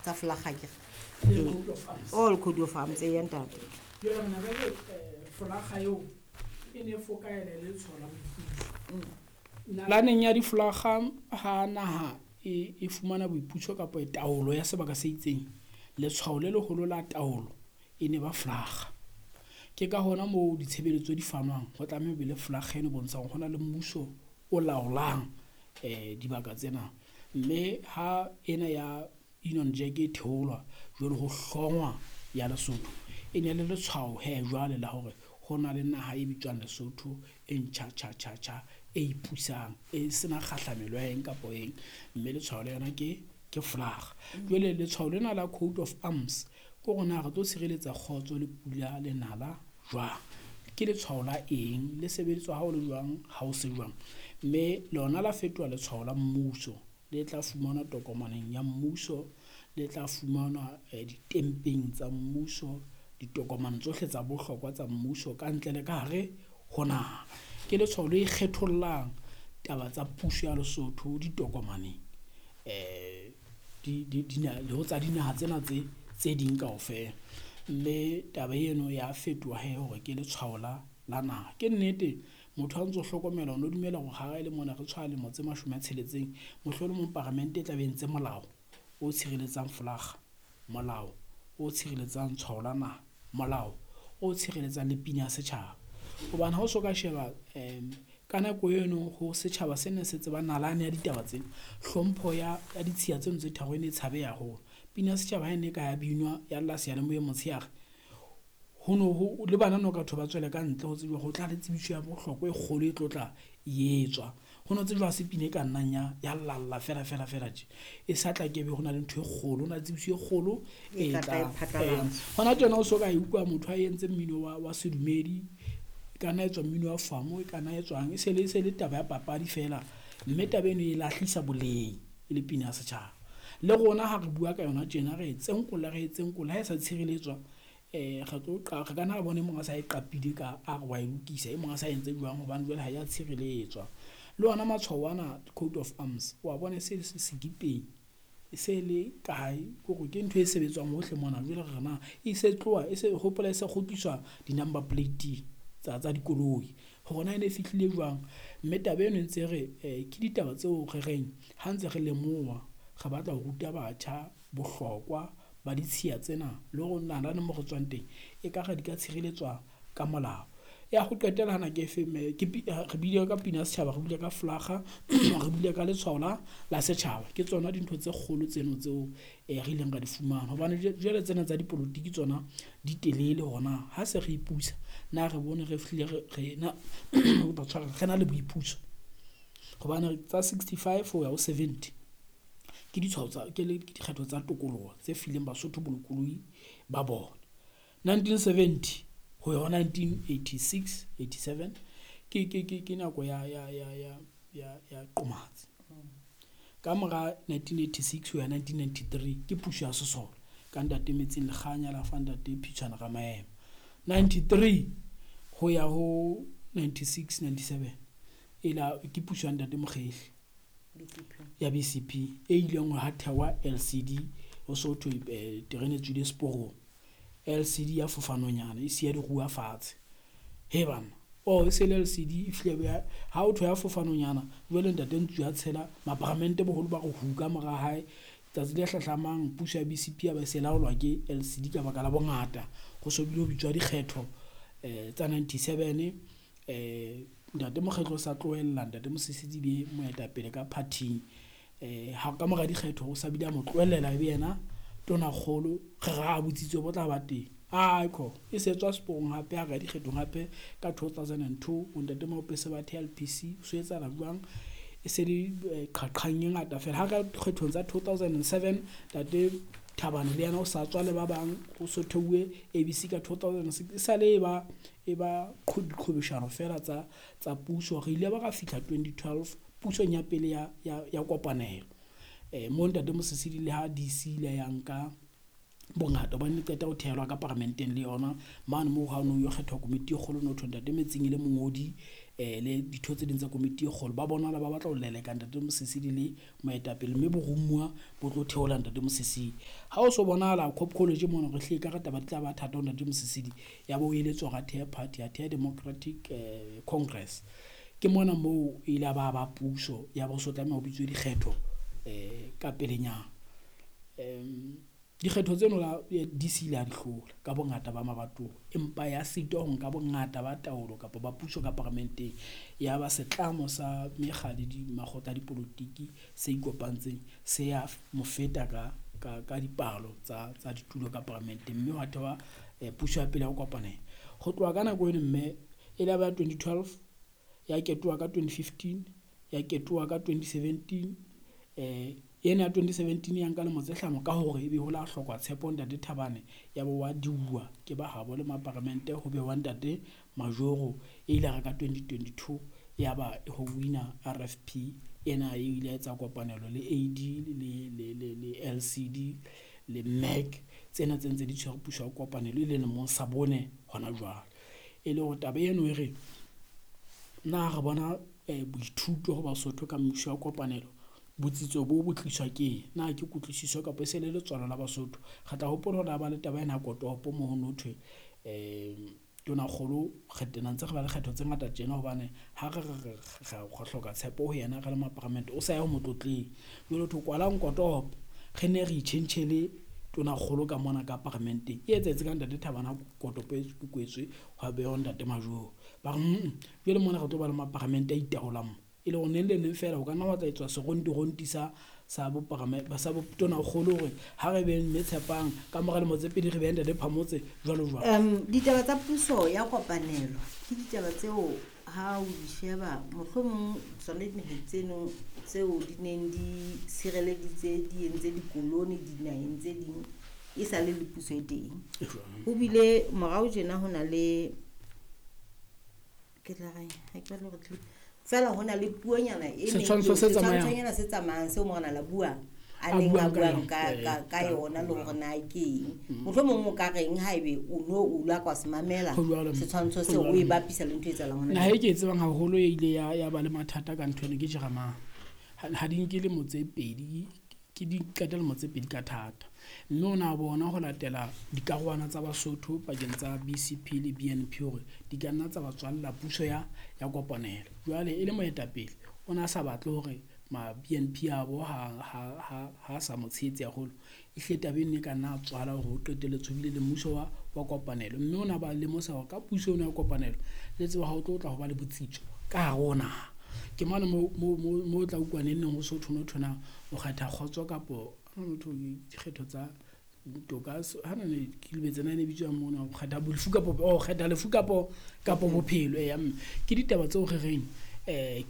tsa folaga ke all code of arms e ya ntate. Folaga eo e ne fokaele le tshola boipuso. Nalaneng ya difolaga ha naha e fumana boipuso kapa taolo ya sebaka se itseng, letshwao le leholo la taolo e ne ba folaga. Ke ka hona moo ditshebeletso di fanwang ho tlameha ho be le folaga eno e bontshang hore hona le mmuso o laolang dibaka tsena. Mme ha ena ya Union Jack e theolwa jwale ho hlongwa ya Lesotho, e ne le letshwao hee jwale la hore ho na le naha e bitswang Lesotho e ntjha tjha tjha tjha, e ipusang, e sena kgahlamelo ya eng kapo eng, mme letshwao la yona ke folaga. Jwale letshwao lena la coat of arms ke hore na re tlo tshireletsa kgotso le pula le nala jwang, ke letshwao la eng, le sebediswa ha o le jwang, ha o se jwang. Mme lona la fetoha letshwao la mmuso, le tla fumanwa tokomaneng ya mmuso, le tla fumanwa ditempeng tsa mmuso, ditokomane tsohle tsa bohlokwa tsa mmuso ka ntle le ka hare ho naha. Ke letshwao le ikgethollang taba tsa puso ya Lesotho ditokomaneng le ho tsa dinaha tsena tse ding kaofela. Mme taba eno ya fetoha hee hore ke letshwao la naha. Ke nnete motho ha ntso hlokomela o no dumela hore ha e le mona re tshwaya lemo tse 60, mohlolomong paramente e tla be e entse molao o tshireletsang folaga, molao o tshireletsang tshwao la naha, molao o tshireletsang le pina ya setjhaba. Hobane ha o so ka sheba ka nako eno ho setjhaba se ne se tseba nalane ya ditaba tsena, hlompho ya ditshiya tseno tse tharo e ne e tshabeha haholo. Pina ya setjhaba ha e ne ka ya binwa ya lla seyalemoyeng motshehare, ho no ho le bana no ka thwe ba tswele ka ntle ho tsejwa ho tla le tsebiso ya bohlokwa e kgolo e tlo tla e etswa. Ho no tsejwa ha se pina e ka nnang ya llalla fela fela fela tje, e sa tla ke be ho na le ntho e kgolo, ho na le tsebiso e kgolo e tlang. Hona tjena o so ka e utlwa motho a entse mmino wa sedumedi, e ka nna etswa mmino wa famo, e ka nna etswang, e se le taba ya papadi fela, mme taba eno e lahlisa boleng e le pina ya setjhaba. Le rona ha re bua ka yona tjena re e tsenkolla, ha e sa tshireletswa re tlo re ka nna ra bona e mong a sa e qapile ka a re wa e lokisa, e mong a sa entse jwang hobane jwale ha ya tshireletswa. Le ona matshwao ana coat of arms wa bona e se le sekipeng, e se le kae, kore ke ntho e sebetswang hohle mona. Jwale re na e se tloha e se hopola e se kgutliswa di-number plate tsa dikoloi hore na e ne e fihlile jwang. Mme taba eno e ntse re ke ditaba tseo re reng ha ntse re lemoha, re batla ho ruta batjha bohlokwa ba ditshiya tsena le hore nalane mo re tswang teng ekare di ka tshireletswa ka molao. Ya ho qetela hana ke efe mme ke re buile ka pina ya setjhaba, re buile ka folaga, re buile ka letshwao la setjhaba. Ke tsona dintho tse kgolo tseno tseo re ileng ra di fumana. Hobane jwale tsena tsa dipolotiki tsona di telele hona ha se re ipusa, na re bone re fihlile re na re na le boipuso. Hobane tsa 65 ho ya ho 70 ke ditshwao tsa ke le dikgetho tsa tokoloho tse fileng Basotho bolokolohi ba bona. 1970 ho ya ho 1986 87 ke nako ya qomatsi. Ka mora 1986 ho ya 1993 ke puso ya sesole ka ntate Metsing Lekganya la fa ntate Phitshwana Ramaema. 93 ho ya ho 96 97 ela ke puso ya ntate Mokgehli ya BCP e ileng ha thewa LCD ho so thwe terene e tswile seporong. LCD ya fofanonyana e siya diruwa fatshe. He bana, oh e se le LCD e fihle ya ha o thwe ya fofanonyana jwale ntate Ntsu ya tshela maparamente boholo ba re hu ka mora hae. Tsatsi le hlahlamang puso ya BCP ya ba se laolwa ke LCD ka baka la bongata. Ho so bile ho bitswa dikgetho tsa 97 ntate Mokgehli o sa tlohella ntate Mosisili be moetapele ka party-ing. Ha ka mora dikgetho o sa bile a mo tlohellela ebe yena tonakgolo, re ra botsitso bo tla ba teng. Aikho e se tswa seporong hape ha re ya dikgethong hape ka 2002 ntate Maope se ba theha LPC so etsahala jwang, e se le qhaqhang e ngata fela. Ha ka kgethong tsa 2007 ntate Thabane le yena o sa tswa le ba bang, ho so theuwe ABC ka 2006 e sale e ba diqhwebeshano fela tsa puso. Re ile ba ra fihla 2012 pusong ya pele ya kopanelo. Mo ntate Mosisili le ha DC ile ya nka bongata hobane e qeta ho thehelwa ka paramenteng le yona mane moo ha o no yo kgethwa komiti e kgolo no thwe ntate Metsing e le mongodi le ditho tse ding tsa komiti e kgolo ba bonahala ba batla ho leleka Ntate Mosisili le moetapele, mme boromuwa bo tlo theola Ntate Mosisili. Ha o so bonahala Cop College mona re hlile ka re taba di tla ba thata ho Ntate Mosisili, ya bo eletswa hore a thehe party, a thehe Democratic Congress. Ke mona moo e ile ba ba puso ya bo so tlameha ho bitswe dikgetho ka pelenyana. Dikgetho tseno la DC ile a di hlola ka bongata ba mabatowa, empa ya sitwa ho nka bongata ba taolo kapa ba puso ka paramenteng. Ya ba setlamo sa mekga le makgotla a dipolotiki se ikopantseng se ya mo feta ka dipalo tsa ditulo ka paramenteng, mme hwa thewa puso ya pele ya ho kopanela. Ho tloha ka nako eno mme e la ba 2012, ya ketoha ka 2015, ya ketoha ka 2017, ena ya 2017 ya nka lemo tse hlano ka hore ebe ho la hlokwa tshepo Ntate Thabane, ya bo wa diuwa ke ba habo le maparamente ho bewa Ntate Majoro. E ile ka 2022 ya ba ho wina RFP ena e ile etsa kopanelo le AD le LCD le MEC, tsena tse ntse di tshwere puso ya kopanelo e le lemong sa bone hona jwale. E le hore taba eno e re na re bona boithuto ho Basotho ka mmuso wa kopanelo, botsitso bo bo tliswa ke eng? Na ke kutlwisiso kapa e se le letswalo la Basotho? Re tla hopola hore ba le taba ena ya kotopo moo ho no thwe tonakgolo re tena ntse re ba le kgetho tse ngata tjena hobane ha re re hloka tshepo ho yena re le maparamente, o sa ya ho motlotleng. Jwale ho thwe kwalang kotopo, re ne re itjhentjhele tonakgolo ka mona ka paramenteng. E etsahetse ka Ntate Thabane kotopo e kwetswe hwa behwa Ntate Majoro. Ba re jwale mona re tlo ba le maparamente a itaolang mo. E le hore neng le neng fela ho ka nna wa tla etswa seronti-ronti sa sa botonakgolo hore ha re beng mme Tshepang ka mora lemo tse pedi re beng Ntate Phamotse jwalo jwalo. Ditaba tsa puso ya kopanelo ke ditaba tseo ha o di sheba mohlomong tsona dinaheng tseno tseo di neng di sireleditse di entse dikoloni dinaheng tse ding e sa le le puso e teng. Ho bile morao tjena ho na le ke tla reng ha ke batle hore fela ho na le puonyana e setshwantsho se tsamayang se tsamayang seo morena la bua a neng a buang ka yona le hore na ke eng. Mohlomong o ka reng haebe o no o la kwa se mamela setshwantsho seo o e bapisa le ntho e etsahalang hona. Naha e ke e tsebang haholo e ile ya ba le mathata ka ntho eno ke Jeremane. Ha di nke lemo tse pedi, ke di qeta lemo tse pedi ka thata. Mme o na bona ho latela dikarolwana tsa Basotho pakeng tsa BCP le BNP hore di ka nna tsa ba tswalla puso ya kopanelo. Jwale e le moetapele o na sa batle hore ma BNP a bo ha sa mo tshehetse haholo, e hle taba eno e ka nna tswala hore ho qetelletse ho bile le mmuso wa kopanelo. Mme o na ba lemosa hore ka puso eno ya kopanelo le tseba ha o tlo tla ho ba le botsitso ka hare ho naha. Ke mona mo tla utlwa neng neng ho so thwe no o kgetha kgotso kapo motho dikgetho tsa toka ha na ne ke lebetse na ne bitswa mona o kgetha lefu kapo o kgetha lefu kapo bophelo. Ya mme ke ditaba tseo re reng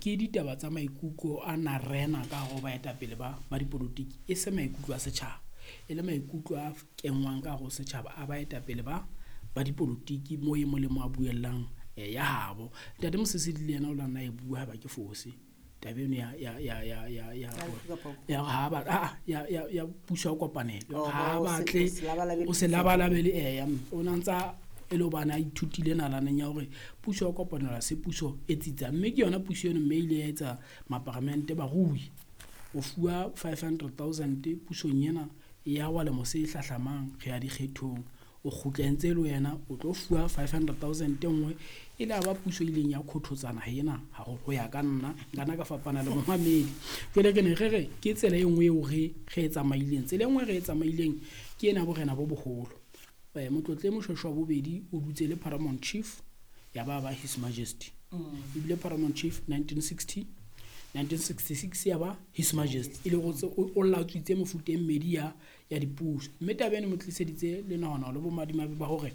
ke ditaba tsa maikutlo a na rena ka hore baetapele ba dipolotiki, e se maikutlo a setjhaba, e le maikutlo a kenngwang ka hare ho setjhaba a baetapele ba dipolotiki mo e molemo a buellang ya habo. Ntate Mosisili le yena o la nna e bua ha ba ke fose taba eno ya puso ya kopanelo, ha batle o se labalabele eya o na ntsa e le hobane a ithutile nalaneng ya hore puso ya kopanelo ha se puso e tsitsang. Mme ke yona puso eno mme ile ya etsa maparamente barui o fuwa 500,000 pusong ena ya wa lemo se hlahlamang re ya dikgethong, o kgutla ntse le wena o tlo fuwa 500,000 e nngwe. E le ba puso ileng ya khothotsana ena haholo ho ya ka nna nkana ka fapana le momamedi. Jwale ke ne re re ke tsela e nngwe eo re e tsamaileng. Tsela e nngwe re e tsamaileng ke ena borena bo boholo. Motlotle Moshoeshoe wa bobedi o dutse le Paramount Chief ya ba His Majesty. Ebile Paramount Chief 1960 1966 ya ba His Majesty, e le hore o latswitse mofuta e mmedi ya dipuso. Mme taba eno mo tliseditse le nahana le bomadimabe ba hore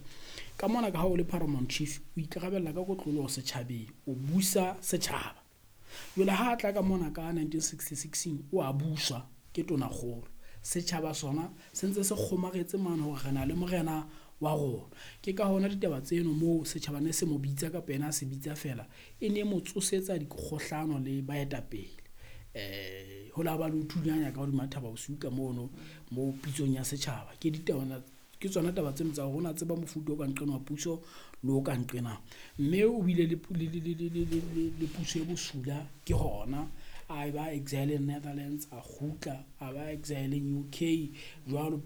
ka mona ka ha o le Paramount Chief o ikarabella ka kotloloho setjhabeng, o busa setjhaba. Jwale ha tla ka mona ka 1966 o a buswa ke tonakgolo, setjhaba sona se ntse se kgomaretse mane hore re na le morena wa rona. Ke ka hona ditaba tseno moo setjhaba ne se mo bitsa kapa yena a se bitsa fela, e ne mo tsosetsa dikgohlano le baetapele. Ho la ba le ho thunyanya ka hodima thaba bosiu ka mono mo pitsong ya setjhaba. Ke ditaba Ke tsona taba tseno tsa hore o na tseba mofuta o ka nqena wa puso le o ka nqena. Mme o bile le le puso e bosula ke hona. A ba exile Netherlands, a kgutla, a ba exile-eng UK jwalo.